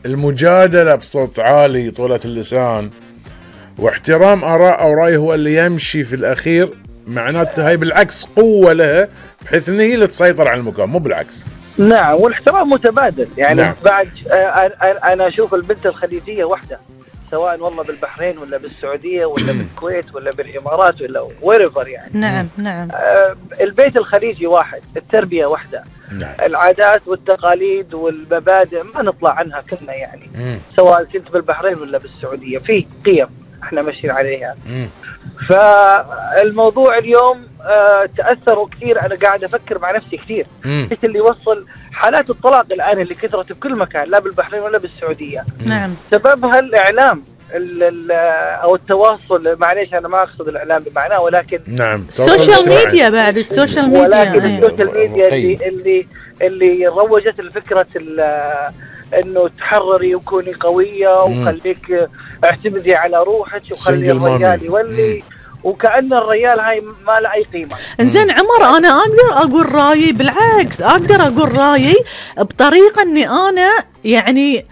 المجادلة بصوت عالي طولة اللسان واحترام آراء أو رأي هو اللي يمشي في الأخير، معناته هاي بالعكس قوة لها بحيث إن هي اللي تسيطر على المكان، مو بالعكس. نعم، والاحترام متبادل يعني. نعم. بعد أنا أشوف البنت الخليجية واحدة، سواء والله بالبحرين ولا بالسعودية ولا بالكويت ولا بالإمارات ولا ويرفر يعني. نعم نعم. البيت الخليجي واحد، التربية واحدة. نعم. العادات والتقاليد والمبادئ ما نطلع عنها كلنا يعني. سواء كنت بالبحرين ولا بالسعودية، في قيم احنا ماشيين عليها. فالموضوع اليوم تأثروا كثير. أنا قاعد أفكر مع نفسي كثير ايش اللي يوصل حالات الطلاق الآن اللي كثرت بكل مكان، لا بالبحرين ولا بالسعودية. نعم. سببها الإعلام أو التواصل. معليش أنا ما أقصد الإعلام بمعناه، ولكن نعم السوشيال ميديا، بعد السوشيال ميديا، ولكن السوشيال ميديا اللي روجت لفكرة انه تحرري وكوني قوية وخليك اعتمدي على روحك وخلي الرجال يولي، وكأن الرجال هاي ما له اي قيمة. انزين عمر، انا اقدر اقول رايي، بالعكس اقدر اقول رايي بطريقة اني انا يعني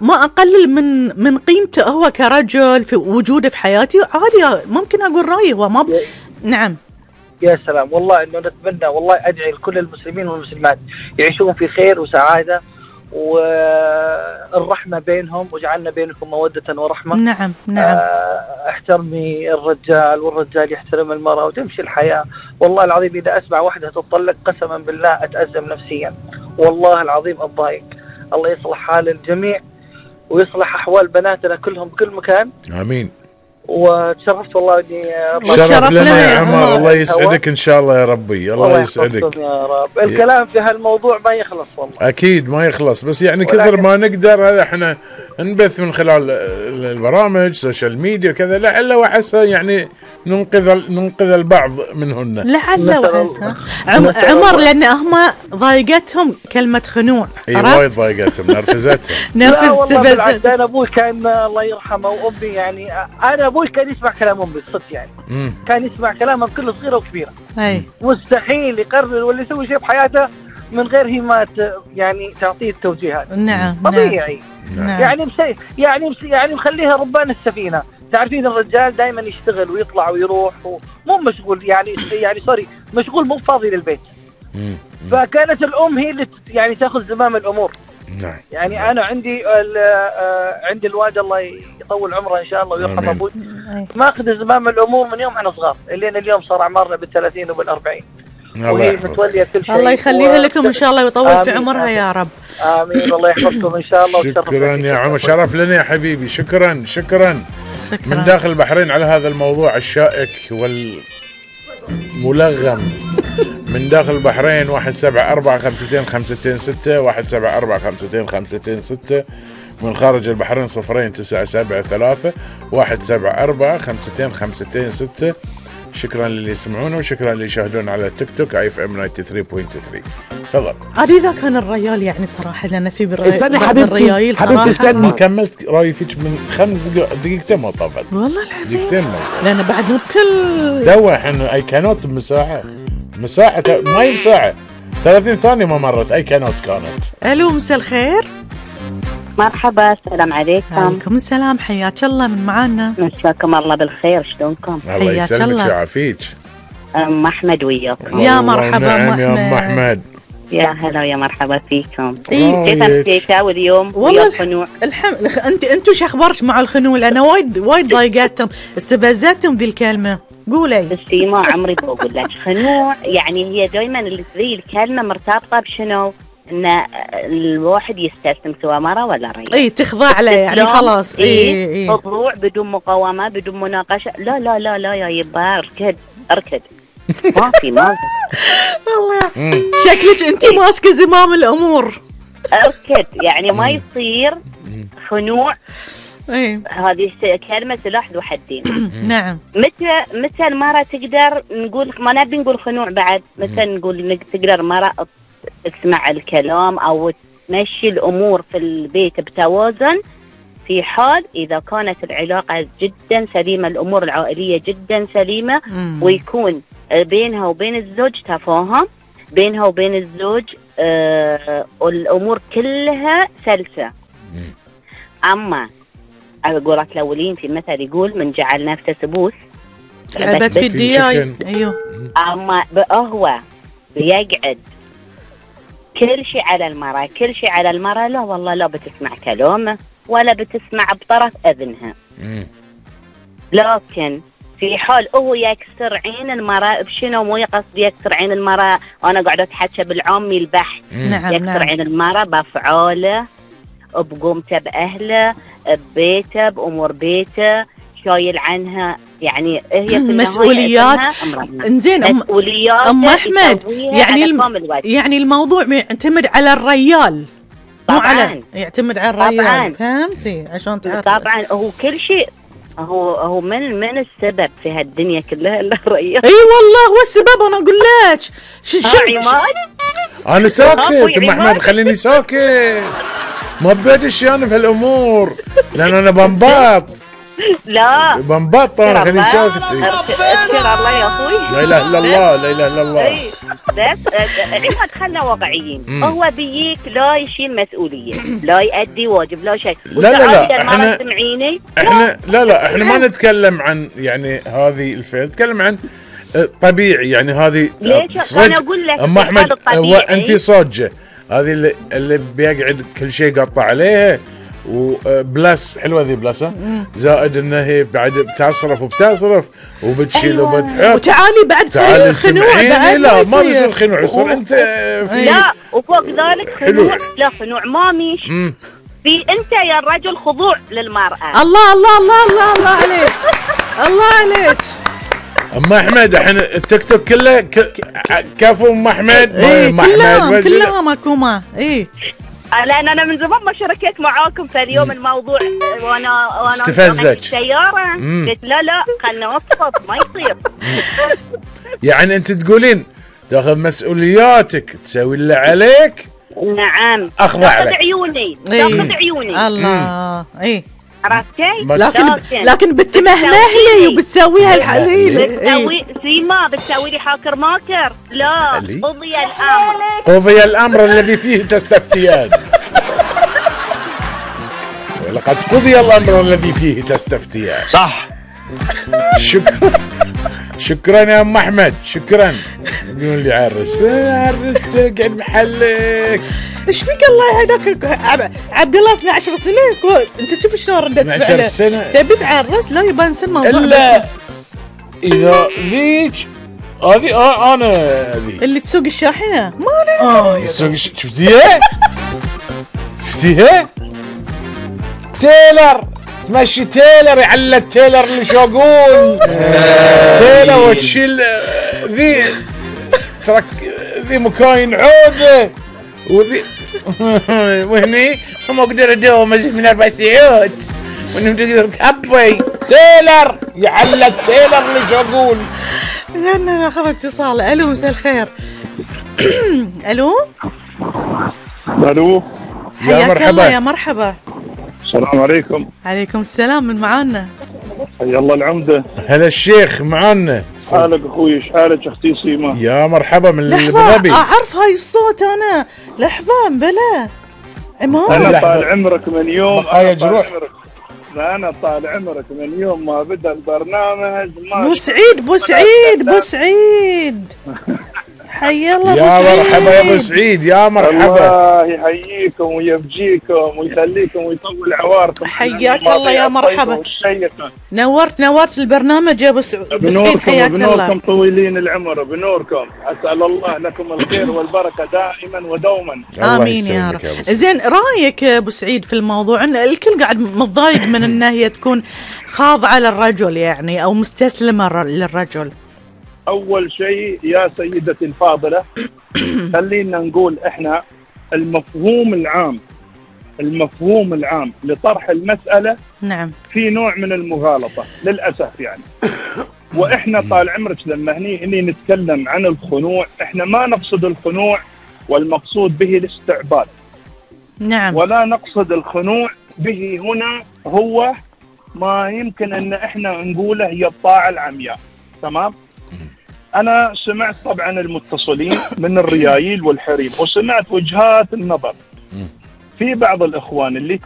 ما اقلل من قيمته هو كرجل في وجوده في حياتي، عادي ممكن اقول رايي هو ما نعم. يا سلام، والله انه نتمنى، والله ادعي لكل المسلمين والمسلمات يعيشون في خير وسعادة والرحمة بينهم، وجعلنا بينكم مودة ورحمة. نعم نعم. احترمي الرجال والرجال يحترم المرأة وتمشي الحياة. والله العظيم إذا أسمع واحدة تطلق قسما بالله أتأزم نفسيا، والله العظيم أتضايق. الله يصلح حال الجميع ويصلح أحوال بناتنا كلهم بكل مكان. آمين. وتشرفت والله اني شرف لنا يا عمر. الله يسعدك ان شاء الله يا ربي. الله يسعدك يا رب. الكلام في هالموضوع ما يخلص والله، اكيد ما يخلص، بس يعني كثر ما نقدر هذا احنا نبث من خلال البرامج سوشيال ميديا كذا، لعل وعسى يعني ننقذ البعض منهن، لعل وعسى. عمر لان هم ضايقتهم كلمه خنوع، وايد ضايقتهم، نرفزتهم. لا والله بالعكس، انا ابوي كان الله يرحمه وامي يعني، انا ابوي كان يسمع كلام امي الصدق يعني. كان يسمع كلامها بكل صغيره وكبيره. مستحيل يقرر ولا يسوي شيء بحياته من غير هي ما يعني تعطيه التوجيهات. نعم طبيعي. نعم. يعني مخليها ربان السفينه. تعرفين الرجال دائما يشتغل ويطلع ويروح مو مشغول يعني سوري، مشغول مو فاضي للبيت. فكانت الام هي اللي يعني تاخذ زمام الامور. نعم. يعني انا عندي الوالد الله يطول عمره ان شاء الله ويرحم ابوي، ما اخذ زمام الامور من يوم احنا صغار الين اليوم صار اعمارنا بال30 وبال40، وهي متوليه كل شيء. الله يخليها لكم ان شاء الله ويطول في عمرها يا رب. امين. الله يحفظكم ان شاء الله. شكرا يا عمر، شرف لنا يا حبيبي. شكرا من داخل البحرين على هذا الموضوع الشائك والملغم. من داخل البحرين 1745226 1745226. من خارج البحرين 02973 1745226. شكرا للي يسمعونا وشكرا للي يشاهدون على التيك توك IFM 93.3. تفضل. عاد إذا كان الريال يعني صراحة لأن في استني حبيبتي استني، ما كملت رأيي فيك من 5 دقيقتين ما طافت والله العظيم، دقيقتين لأن بعد مو بكل دوا احنا أي كانوت مساحة ما هي مساحة 30 ثانية ما مرت أي كانوت كانت. ألو مساء الخير. مرحبا، السلام عليكم. وعليكم السلام، حياك الله. من معانا؟ مساكم الله بالخير، شلونكم؟ الله يسلمك ويعافيك. أم أحمد وياكم. يا مرحبا. نعم يا أم أحمد. يا هلا ويا مرحبا فيكم. كيف أمسيتوا واليوم؟ والله الخنوع انتوا شو اخبارش مع الخنوع؟ لأنا وايد ضايقتهم استفزتهم ذي الكلمة. قولي. بس ما عمري بقول لك خنوع، يعني هي دائما ذي الكلمة مرتبطة بشنو؟ ان الواحد يستسلم سواء مرة ولا رجل. تخضع له يعني خلاص. خضوع بدون مقاومة بدون مناقشة. لا لا لا لا يا يبا اركد ما في والله شكلك انت ماسكة زمام الامور. اركد يعني ما يصير خنوع. هذه كلمة سلاح ذو حدين. نعم. متى المرأة تقدر نقول، ما نبي نقول خنوع بعد، متى نقول تقدر مرأة تسمع الكلام أو تمشي الأمور في البيت بتوازن، في حال إذا كانت العلاقة جدا سليمة، الأمور العائلية جدا سليمة، ويكون بينها وبين الزوج تفاهم، بينها وبين الزوج والامور كلها سلسه. اما اقول لك الاولين في مثل يقول من جعل نفسه سبوس لعبت في الدياي. ايوه. اما هو بيقعد كل شيء على المرأة، كل شيء على المرأة. لا والله لا بتسمع كلامه ولا بتسمع بطرف اذنها. لكن في حال هو يكسر عين المرأة بشنو؟ مو يقصد يكسر عين المرأة، انا قاعده اتحكى بالعامي البحث. نعم يكسر نعم. عين المرأة بافعاله، بقومته باهله، ببيته، بامور بيته، شايل عنها. يعني هي في مسؤوليات. انزين مسؤوليات ام احمد، يعني الموضوع يعتمد على الريال مو على يعتمد على الريال. طبعاً. فهمتي عشان تعرف. طبعا هو كل شيء هو من السبب في هالدنيا كلها الا الريال. اي والله هو السبب. انا اقول لك انا ساكت ام احمد، خليني ساكت، ما بدش انا في هالامور لان انا بنباط. لا بنباط انا، خليني ساكت. اذكر الله يا اخوي، لا اله الا الله، لا اله الا الله. بس عماد خلنا واقعيين. هو بيك لا يشيل مسؤوليه، لا يؤدي واجب، لا شيء. لا احنا سمعيني، احنا ما نتكلم عن يعني هذه الفئه، نتكلم عن طبيعي. يعني هذه ليش انا اقول لك ام احمد انت صاجه هذه اللي بيقعد كل شيء قطع عليها وبلس حلوه ذي بلس، زائد انها هي بعد بتصرف وبتشيل وبتحط وتعالي بعد تصير خنوع بعد. لا ما بيصير خنوع، يصير انت في لا وفوق ذلك خنوع. لا خنوع ما ميش في انت يا الرجل خضوع للمراه. الله الله الله الله الله عليك، الله عليك. ام احمد احنا التيك توك كله كفو ام احمد. كلها ماكومه. اي لان انا من زمان ما شاركت معاكم في اليوم الموضوع، وانا استفزك السياره قلت لا خلنا نوصف ما يصير. يعني انت تقولين تاخذ مسؤولياتك، تسوي اللي عليك. نعم اخضع لك. عيوني تاخذ عيوني. الله. اي عرفتي؟ لكن بتمهمهلي وبتسويها الحليل. بتسوي سيما، بتسوي لي حاكر ماكر. لا قضي الامر، قضي الامر الذي فيه تستفتيان. ولقد قضي الامر الذي فيه تستفتيان. صح. شكرا يا ام احمد، شكرا. يقول لي عرست قاعد محلك. ايش فيك الله يهداك عبد الله 12 سنه انت تشوف شلون ردت فعله. 12 سنه تبي تعرس؟ لا يبان سن موضوع. الا اذا ذيك هذه انا هذه اللي تسوق الشاحنه ما تسوق. شفتيها؟ تيلر تمشي تيلر، يعلى التيلر اللي شاقول تيلر وتشيل ذي ترك ذي مكاين عوده وذي وهني ما اقدر ادوم ازيد من 4 ساعات وانهم تقدر كبي تيلر، يعلى التيلر اللي شاقول. انا اخذ اتصال. الو مساء الخير. الو يا مرحبا. يا مرحبا. السلام عليكم. عليكم السلام. من معانا؟ حيا الله العمده. هلا الشيخ معانا. حالك اخوي؟ ايش حالك اختي سيما؟ يا مرحبا من الغبي. اعرف هاي الصوت انا. لحظه بلا عمار. انا طال عمرك من يوم أنا طال عمرك من يوم ما بدا البرنامج. بو سعيد حيا الله يا مرحبا يا ابو سعيد. يا مرحبا. الله يحييكم ويبجيكم ويخليكم ويطول عواركم. حياك الله يا مرحبا. نورت البرنامج يا ابو سعيد. حياك الله. بنوركم طويلين العمر، بنوركم. اسال الله لكم الخير والبركه دائما ودوما. امين يا رب. زين رايك يا ابو سعيد في الموضوع؟ ان الكل قاعد متضايق من ان هي تكون خاضعه للرجل يعني او مستسلمه للرجل. أول شيء يا سيدتي الفاضلة خلينا نقول إحنا المفهوم العام لطرح المسألة نعم في نوع من المغالطة للأسف يعني. وإحنا طال عمرك لما هني نتكلم عن الخنوع، إحنا ما نقصد الخنوع والمقصود به الاستعباد. نعم. ولا نقصد الخنوع به هنا هو ما يمكن أن إحنا نقوله هي الطاعة العمياء. تمام؟ أنا سمعت طبعا المتصلين من الريايل والحريم، وسمعت وجهات النظر. في بعض الإخوان اللي